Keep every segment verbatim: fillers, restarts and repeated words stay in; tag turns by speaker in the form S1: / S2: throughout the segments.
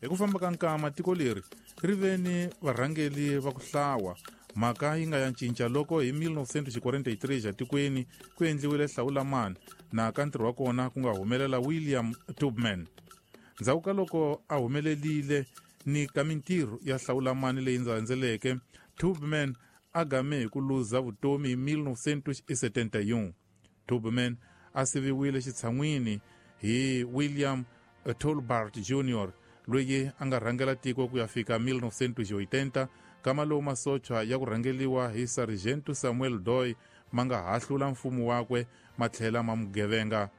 S1: Hi ku famba ka nkama tiko leri ri ve ni varhangeli va ku hlawa. Mhaka yi nga ya cinca loko hi mille neuf cent quarante-trois etikweni ku endliwile hlawulamani na ka ntirho wa kona ku nga humelela William Tubman. Ndzhaku ka loko a humelelile ni ka mintirho ya hlawulamani leyi ndzandzeleke, Tubman a game hi ku luza vutomi hi mille neuf cent soixante et un. Tubman a siviwile xitshan'wini hi William Tolbert Junior loyi a nga rhangela tiko ku ya fika mille neuf cent quatre-vingts, kama lowu masocha ya ku rhangeliwa hi Sargento Samuel Doe ma nga hahlula mfumo wakwe ma tlhela ma mugevenga.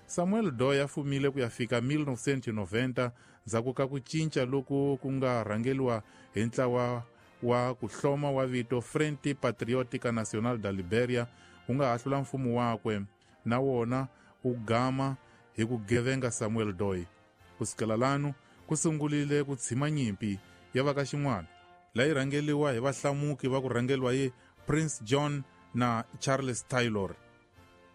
S1: Samuel Doe a fumile ku ya fika mille neuf cent quatre-vingt ndzhaku ka ku cinca loku ku nga rhangeliwa hi ntlawa wa ku hloma wa vito Frente Patriótica Nacional da Liberia wu nga hahlula mfumo wakwe na wona wu gama hi ku gevenga Samuel Doe. Ku sukela lanu ku sungulile ku tshima nyimpi ya va ka xin'wana leyi rhangeliwa hi vahlamuki va ku rhangeliwa hi Prince John na Charles Taylor.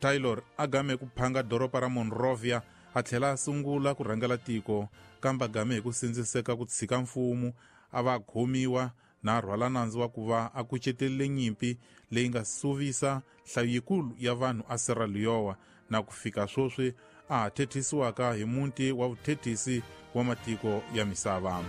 S1: Taylor a game ku phanga doroba ra Monrovia a tlhela a sungula ku rhangela tiko, kambe a game hi ku sindziseka ku tshika mfumo a va khomiwa na rhwala nandzu wa ku va a kucetelile nyimpi leyi nga suvisa nhlayo yikulu ya vanhu a Sierra Leone na ku fika sweswi a ha thethisiwaka hi muti wa vuthethisi wa matiko ya misava.